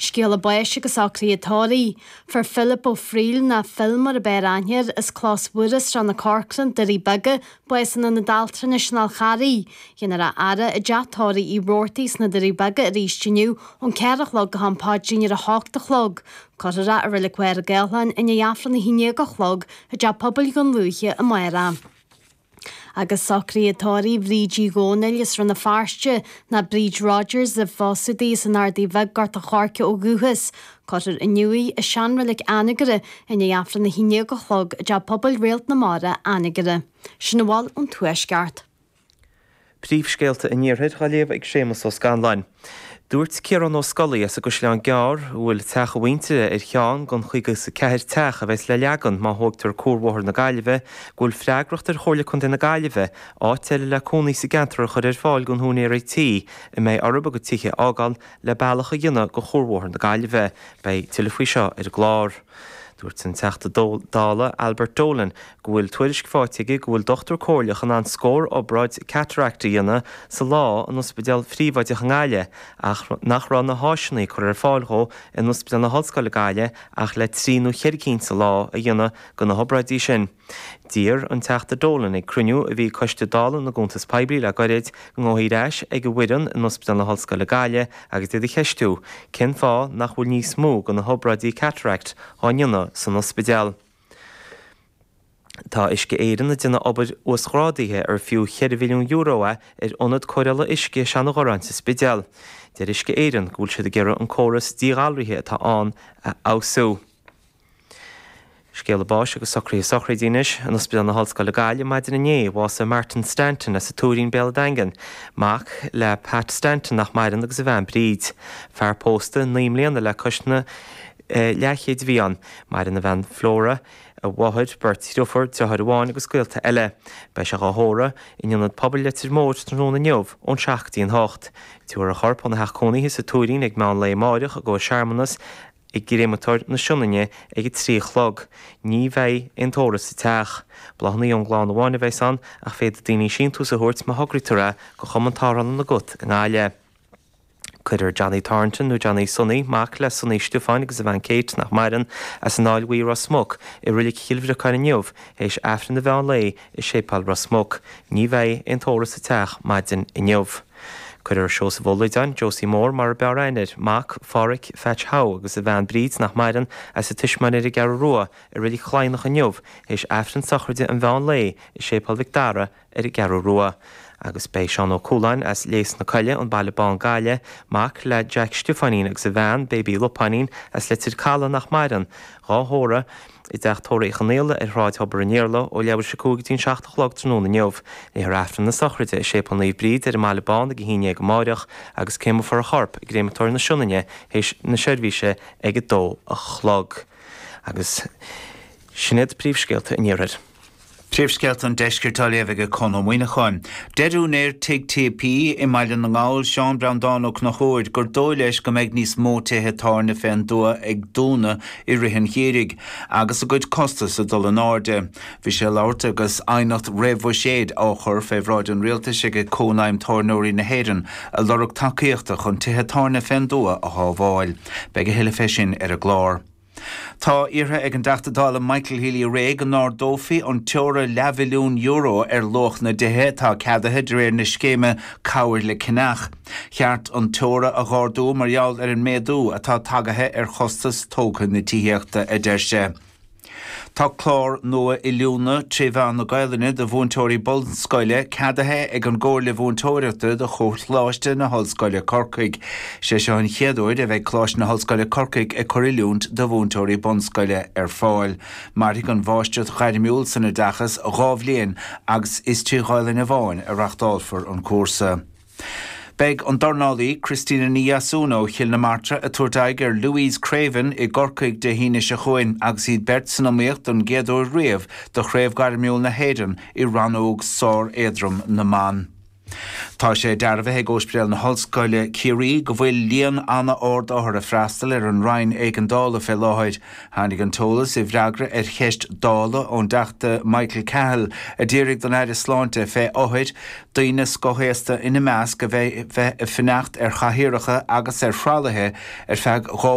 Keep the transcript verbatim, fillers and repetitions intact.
Scéala báis agus socruithe tórraimh. Fuair Philip Ó Frighil nó Phil mar ab fhearr aithne air as Clós Mhuire, Srath na Corcrann, Doirí Beaga, bás in Ionad Altranais an Fháil Charraigh. Dhéanfar a fhaire i dteach tórraimh Uí Robhartaigh sna Doirí Beaga arís inniu ón ceathair a chlog go ham paidrín ar a hocht a chlog. Cuirfear é i Reilig Mhachaire Gathlán i ndiaidh Aifreann a haon déag a chlog i dteach pobail Dhún Lúiche amárach. Agus socruithe tórraimh Bhríd Uí Dhónaill as Rann na Feirste nó Bríd Rogers ar phósadh di as an Ardaidh Bheag Gort a' Choirce ó dhúchas. Cuirfear inniu í i seanreilig Anagaire i ndiaidh Aifreann a haon déag a chlog i dteach pobail Réalt na Mara, Anagaire. Sin a bhfuil ón Tuaisceart. Príomhscéalta an Iarthair á léamh ag Séamus Ó Scanláin. Dúirt Ciarán Ó Scolaí as an gCaisleán Gearr, a bhfuil teach a mhuintire ar cheann den chaoga is a ceathair teach a bheas le leagan má thógtar Cuarbhóthar na Gaillimhe, go bhfuil freagracht ar Chomhairle Contae na Gaillimhe áit eile le cónaí sa gceantar a chur ar fáil don húinéirí tí a mbeidh orthu a gcuid tithe a fhágáil le bealach a dhéanamh go Chuarbhóthar na Gaillimhe. Beidh tuilleadh faoi seo ar an gclár. Dúirt an Teachta Dála Albert Dolan go bhfuil tuairisc faighte aige go bhfuil dochtúir comhairleach in ann scór obráid cataract a dhéanamh sa lá in ospidéal phríobháideach i nGaillimh ach nach raibh na háiseanna curtha ar fáil dhó in Ospidéal na hOllscoile Gaillimh ach le trí nó ceithre cinn sa lá a dhéanamh de na hobráidí sin. D'iarr an Teachta Dolan ag cruinniú a bhí Coiste Dála na gCuntas Poiblí le gairid go ngabhfaí ar ais ag an bhfoireann in Ospidéal na hOllscoile Gaillimh agus iad a cheistiú cén fáth nach bhfuil níos mó de na hobráidí cataract á ndéanamh san ospidéal. Tá Uisce Éireann ag déanamh obair uasghrádaithe ar fiú ceithre mhilliún euro é ar ionad cóireála uisce Seanadh sa Spidéal. Deir Uisce Éireann go bhfuil siad ag iarraidh an córas díghalraithe atá ann a fheabhsú. Scéala báis agus socruithe sochraide anois in Ospidéal na hOllscoile Gaillimh maidin inné bhásaigh Martin Stanton as an Tuairín Béal an Daingin, mac le Pat Stanton nach maireann agus a bhean Bríd. Fear pósta naoi mbliana le cois na eh, leathchéid a bhí ann, maireann a bhean Flora, a mháthair, beirt dheirfiúr, deartháir amháin agus gaolta eile. Beidh sé á thórramh in ionad pobail Leitir Móir tráthnóna inniu ón seacht go dtí an hocht. Tabharfar a chorp óna theach cónaithe sa Tuairín ag meán lae amárach i gcomhair searmanas i gcréamatóir na Sionainne ag a trí a chlog. Ní bheidh aon tórramh sa teach. Bláthanna ón gclann amháin a bheas ann ach féadfaidh daoine síntiús a thabhairt má thograítear é go Chumann Tarrthála na gCat i nGaillimh. Cuirfear Johnny Thornton nó Johnny Sonny, mac le Sonny Stiofáin agus a bhean Kate nach maireann as an Fháil Bhuí Ros Muc i Reilig Chill Bhriocáin inniu théis Aifreann an mheán lae i Séipéal Ros Muc. Ní bheidh aon tórramh sa teach maidin inniu. Cuirfear Seosamh Ó Loideáin, Josie Mór mar ab fhearr aithne air, mac Pháraic Phatch Howe agus a bhean Bríd nach maireann as a tuismitheoirí ar an gCeathrú Rua i Reilig Chladhnach inniu théis Aifreann sochraide an mheán lae i Séipéal Mhic Dara ar an gCeathrú Rua. Agus beidh Seán Ó Cualáin as Léas na Coille an Baile Bán Gaillimh, mac le Jack Stiofáinín agus a bhean Baby Lupáinín as Leitir Caladh nach maireann, dhá thórramh i dteach tórraimh Uí Chonaola ar Shráid Thobar an Iarla ó leathuair tar éis a cúig go dtí an seacht a chlog tráthnóna inniu. Léifear Aifreann na sochraide i Séipéal Naomh Bríd ar an mBaile Bán ag a haon déag amárach agus créamfar a chorp i gcréamatóir na Sionainne théis na seirbhíse ag a dó a chlog. Agus sin iad príomhscéalta an iarthair. Príomhscéalta an deiscirt á léamh ag Conn Ó Muíneacháin. Deir úinéir Tigh TP i mBaile na nGall Seán Breandán Ó Conchúir gur dóigh leis go mbeidh níos mó tithe tábhairne fén dtuath ag dúnadh i rith an gheimhridh, agus a gcuid costas ag dul in airde. Bhí sé ag labhairt agus aighneacht réamhbhuiséid á chur fé bhráid an rialtais ag Cónaidhm Tábhairneoirí na hÉireann ag lorg tacaíochta chun tithe tábhairne fén dtuath a shábháil. Beidh a thuilleadh fé sin ar an gclár. Tá iarrtha ag an dTeachta Dála Michael Healy-Rae go n-ardófaí an teora leathmhilliún euro ar luach na dtithe atá ceadaithe de réir na scéime Cabhair le Ceannach. Cheart an teora a dh'ardú mar gheall ar an méadú atá tagaithe ar chostas tógtha na tithíochta, a deir sé. Tá clár nua oiliúna trí mheán na Gaelainne do mhúinteoirí bunscoile ceadaithe ag an gComhairle Mhúinteoireachta do Choláiste na hOllscoile Corcaigh. Sé seo an chéad uair a bheidh Coláiste na hOllscoile Corcaigh ag cur oiliúint do mhúinteoirí bunscoile ar fáil. Mairfidh an mháistreacht ghairmiúil san oideachas dhá bhliain agus is trí Ghaelainn amháin a reachtálfar an cúrsa. Beidh an dornálaí Christina Ní Dheasún ó Chill na Martra ag tabhairt aghaidh ar Louise Craven i gCorcaigh Dé hAoine seo chugainn agus iad beirt san iomaíocht don gcéad uair riamh do Chraobh Ghairmiúil na hÉireann i rannóg sár-éadrom na mban. Tá sé dearbhaithe ag Ospidéal na hOllscoile Ciarraí go bhfuil líon an-ard othar ag freastal ar an Roinn Éigeandála fé láthair. Tháinig an t-eolas i bhfreagra ar cheist Dála ón dTeachta Michael Cahill a d'fhiafraigh don Aire Sláinte fé othair, daoine scothaosta ina measc, a bheith ag fanacht ar chathaoireacha agus ar thralaithe ar feadh dhá